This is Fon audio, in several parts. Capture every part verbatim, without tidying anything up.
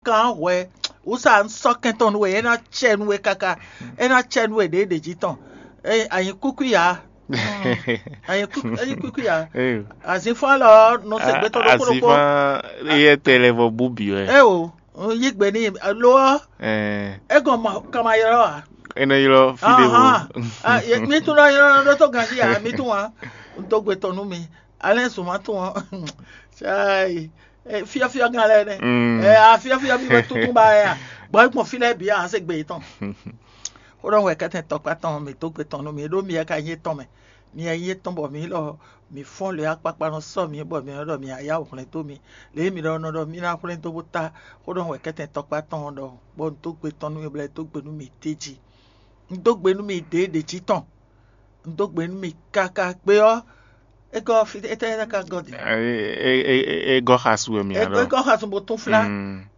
kan hwɛ wúsa un sɔ́ kɛn tɔn nú we, é ná cɛ nú we káká, é ná cɛ nú we ɖěɖě jí tɔn. Anyi kúkú ya, anyi kúkú ya. Azínfɔ́n lɔ nɔ se gbɛtɔ́ ɖokpó ɖokpó. Azínfɔ́n yɛ tɛ lɛ vɔ bú bǐ wɛ. É o, un yí gbe n'i lo ɔ́, é gɔn ma kama ylɔ́ ǎ. É nɔ ylɔ́ fí ɖé vo. Mi tún nɔ ylɔ́ ɖó tó ganjí ǎ, mi tún wá. Un dó gbe tɔn nú mi. Alɛ́ zun ma tún ɔ́, cai, fyɔ́fyɔ́ gán lɛ́ɛ nɛ́. Afyɔ́fyɔ́ mi wɛ tuntun ba wɛ a? Gbɔn é gbɔn fí lɛ́ɛ bǐ a se gbe yětɔn. Xó ɖɔ wɛ kɛ́tɛn tɔkpá tɔn mǐ dó gbe tɔn nú mi ɖó mi wɛ ka nyí tɔn mɛ. Mi wɛ nyí tɔn bɔ mǐ lɔ mǐ fɔ́n lě akpakpa nɔ sɔ́ mǐ bɔ mǐ nɔ ɖɔ mǐ ná yá wǔ hwlɛ́n dó mi. Lě e mǐ ɖɔ nɔ ɖɔ mí ná hwlɛ́n dó bó ta xó ɖɔ wɛ kɛ́tɛn tɔkpá tɔn ɔ́ ɖɔ bɔ un dó gbe tɔn nú mi bɔ é dó gbe nú mi d'é jí. Un dó gbe nú mi ɖěɖě jí tɔn. Un dó gbe nú mi káká gbe ɔ́, é gɔ́ fí étɛ́ é ná ka gɔ́ din? É gɔ́ xasu wɛ mi ǎ ɖɔ. É gɔ́ xasun bó tún flá.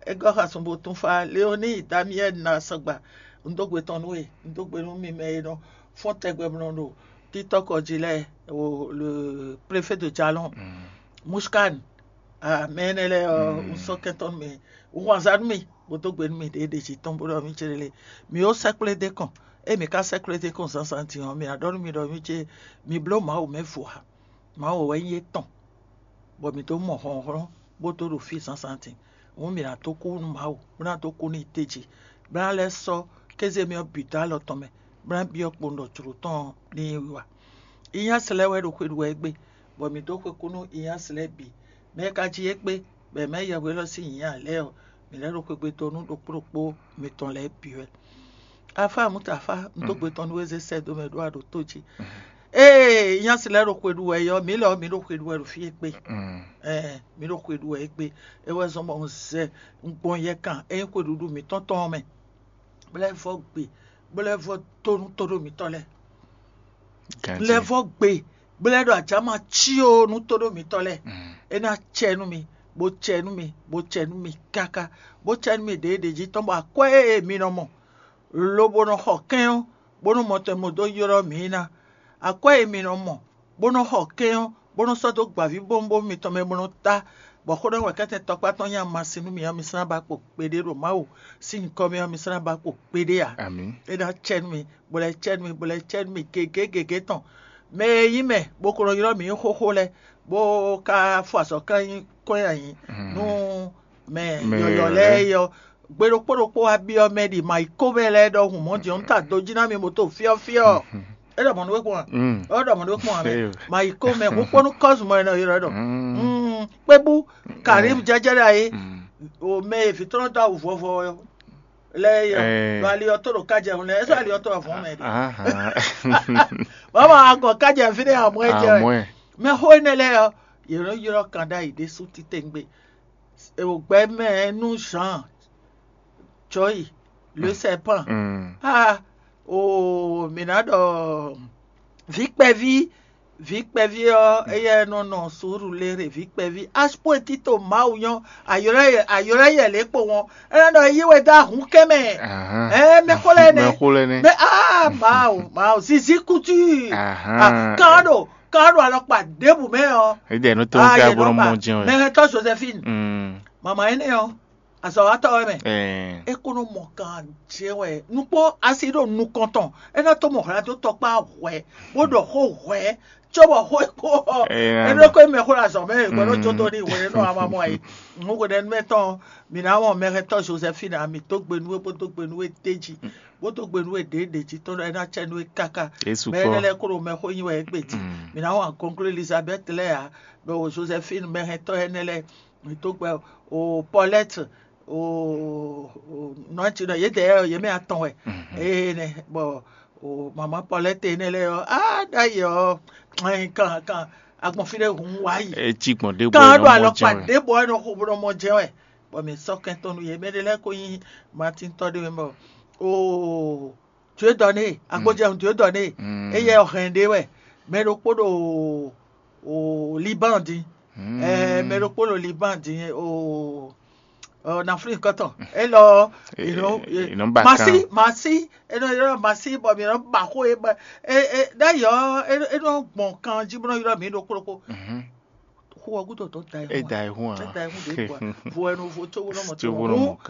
É gɔ́ xasun bó tún flá. Léoní Damiɛl na sɔgba. Un dó gbe tɔn nú we. Un dó gbe nú mi mɛ e nɔ fɔ́n tɛgbɛ mlɔ ɖo títɔ́kɔ jí lɛ́ɛ, le préfet de Jalon, Mushkan, mɛ énɛ́ lɛ́ɛ ɔ́, un sɔ́ kɛntɔ́ nú mi, un hun azǎn nú mi, bó dó gbe nú mi ɖěɖě jí tɔn bó ɖɔ mí céɖélé. Mi ó sɛ́kplé dé kɔn, ée mi ka sɛ́kplé dé kɔn zǎnzǎn din ɔ́, mi ná ɖɔ nú mi ɖɔ mí cé mi bló Mawu mɛ vo ǎ. Mawu wɛ nyí étɔn, bɔ mǐ dó mɔ hlɔ̌nhlɔ́n bó dó ɖo fí zǎnzǎn din. Hǔn mǐ ná dó kú nú Mawu, bó ná dó kú n'i tejí, bó ná lɛ́ sɔ́ kéze mì ɔ́ bǐ dó alɔ tɔn mɛ, bó ná byɔ́ kpowun ɖɔ jlǒ tɔn ɔ́ ní yi wa. Inyásɛ lɛ́ɛ wɛ ɖo xwe ɖu wɛ égbé, bɔ mǐ dó xwe kú nú inyásɛ lɛ́ɛ bǐ. Mɛ e ka jí égbé, bɔ è mɛ yɛhweɖɔ sín nyǐ ǎ lɛ́ɛ ɔ́, mǐ lɛ́ ɖo xwegbe dó nú ɖokpó ɖokpó mitɔn lɛ́ɛ bǐ wɛ. Afá Mutafa, un dó gbe tɔn nú we zé sɛ́ dó mɛ ɖó a ɖo tó jí. Ée nyásɛ lɛ́ɛ ɖo xwe ɖu wɛ é ɔ́, mǐ lɛ ɔ́, mǐ ɖo xwe ɖu wɛ ɖo fí égbé. Ɛɛ, mǐ ɖo xwe ɖu wɛ égbé. É wɛ zɔ́n bɔ un zɛ un gbɔn yɛkan é nyí xwe ɖuɖu mǐtɔn tɔn ɔ́ mɛ, bó lɛ́ vɔ́ gbe, bó lɛ́ vɔ́ dó nú tóɖó mǐtɔn lɛ́ɛ. Lɛ́ vɔ́ gbe, bó lɛ́ ɖɔ ajǎ ma cí ó nú tóɖó mǐtɔn lɛ́ɛ. É ná cɛ nú mi, bó cɛ nú mi, bó cɛ nú mi káká, bó cɛ nú mi ɖěɖě jí tɔn bɔ akwɛ́ e mi nɔ mɔ lobo nɔ xɔ kɛ́n ɔ́, bónú mɔtɛn mo dó ylɔ́ mǐ ná. Akwɛ́ e mi nɔ mɔ, bó nɔ xɔ kɛ́n ɔ́, bó nɔ sɔ́ dó gbǎvíbówúnbówún mitɔn mɛ bó nɔ tá, bɔ xó ɖɔ wɛ kɛ́tɛn tɔkpá tɔn nyí amasin nú mǐ ɔ́, mi sɔ́ ná ba kpo kpeɖé ɖo Mawu sín nyǐkɔ mɛ ɔ́, mi sɔ́ ná ba kpo kpeɖé ǎ. É ná cɛ nú mi, bó lɛ́ cɛ nú mi, bó lɛ́ cɛ nú mi gěgé gěgé tɔn. Mɛ e nyí mɛ, bó ko nɔ ylɔ́ mǐ nyí xóxó lɛ́ɛ, bó ka fɔ azɔ̌ kán nyí kɔn nyi ayǐ nú mɛ yɔ̌yɔ́ lɛ́ɛ é ɔ́, gbe ɖokpó ɖokpó wá byɔ́ mɛ ɖi ma yi kó mɛ lɛ́ɛ ɖɔhun mɔ̌ din ɔ́, un ta do jí ná mi mo to fyɔ́fyɔ́. É ɖɔ mɔ̌ nú we kpɔ́n a? É ɖɔ mɔ̌ nú we kpɔ́n a mɛ? Ma yi kó mɛ húkpɔ́nú kɔ́zun mɔ è nɔ ylɔ́ ɖɔ kpébú Karim jɛjɛrɛ ayé o mɛ e vǐ tɔn dó awu vɔvɔ lɛ́ɛ yɔ ɖo ali ɔ́ tó ɖo kájɛ hun lɛ́ɛ, é sɔ́ ali ɔ́ tó wɛ vɔ̌n mɛ ɖe. Bɔbɔ agɔ kájɛ fínɛ́ amɔ ɛ jɛ wɛ. Mɛ xó énɛ́ lɛ́ɛ ɔ́, yě nɔ ylɔ́ kan ɖ'ayǐ ɖésú titewungbe. È wǒ gbɛ́ mɛ nú Jean Joy le serpent. Ah, o mǐ ná ɖɔ vǐ kpɛví, vǐ kpɛví ɔ́, éyɛ́ nɔ nɔ Surulere vǐ kpɛví. Aspóetito Mawu nyɔ́, ayɔ́lɛ́ yɛ lě kpo wɔn. É nɔ ɖɔ yí we dó ahǔn kɛ́ mɛ. Ɛ mɛ xó lɛ́ɛ nɛ́. Mɛ xó lɛ́ɛ nɛ́. Mɛ ah Mawu, Mawu, zizi kutu. Kan ɖo kan ɖo alɔkpa ɖěbǔ mɛ ɔ́. Édɛɛ nú tó ń ká bó nɔ mɔ jɛn wɛ. Mɛhɛntɔ Josephine, mama énɛ́ ɔ́, azɔ̌watɔ́ wɛ mɛ. É kó nɔ mɔ kan jɛn wɛ. Nukpó asi ɖo nukɔn tɔn. É ná tó mɔ hwlɛ́n dó tɔkpá hwɛ, bó ɖɔ xó hwɛ, cóbɔ xó e kó ɔ́, é ɖo kó mɛ xó ɖo azɔ̌ mɛ, é gbɔdɔ jó dó ní hwɛɖɛnú ama mɔ ayé. Nú hwɛɖɛnú mɛ tɔn, mǐ ná mɔ mɛhɛntɔ Josephine, mǐ dó gbe nú we, bó dó gbe nú we d'é jí, bó dó gbe nú we ɖěɖě jí tɔn ɖɔ é ná cɛ nú we káká. Mɛ énɛ́ lɛ́ɛ kó ɖo mɛxó nyi wɛ égbé jí. Mǐ ná wɔn akɔnklú Elizabeth lɛ́ɛ ǎ, bɔ Josephine mɛhɛntɔ énɛ́ lɛ́ɛ, mǐ dó gbe o Paulette, o nɔ̌ jí nɔ yědɛɛ yě mɛ atɔn wɛ. Énɛ́ bɔ o mama Paulette énɛ́ lɛ́ɛ ɔ́, á ɖ'ayǐ ɔ́, kan kan agbɔn fí ɖé hun wá yi. É cí gbɔn ɖěbǔ kan ɖo alɔkpa ɖěbǔ ɔ́ nɔ xo bó nɔ mɔ jɛ́n wɛ. Bɔ mǐ sɔ́ kɛntɔn nú yě. Mɛ ɖé lɛ́ɛ ko nyí Martin tɔ́ ɖé mɛ bɔ o Dieu donné, agbojɛhun Dieu donné, éyɛ hɛn ɖé wɛ. Mɛ ɖokpó ɖo o Liban din, ɛɛ mɛ ɖokpó ɖo Liban din o en Afrique kɔtɔn. Elɔ masi masi enɔ yɔrɔ masi bɔ mi nɔ ba xó e ba e e ɖ'ayɔ enɔ gbɔn kan jí bɔ nɔ yɔrɔ mi ɖokpó ɖokpó. Xó ɔ́ gúdo tó da ɛ hún. Da ɛ hún. Da ɛ hún ɖě bɔ vo ɛnu vo tó wó nɔ mɔ tó wó nɔ mɔ kan.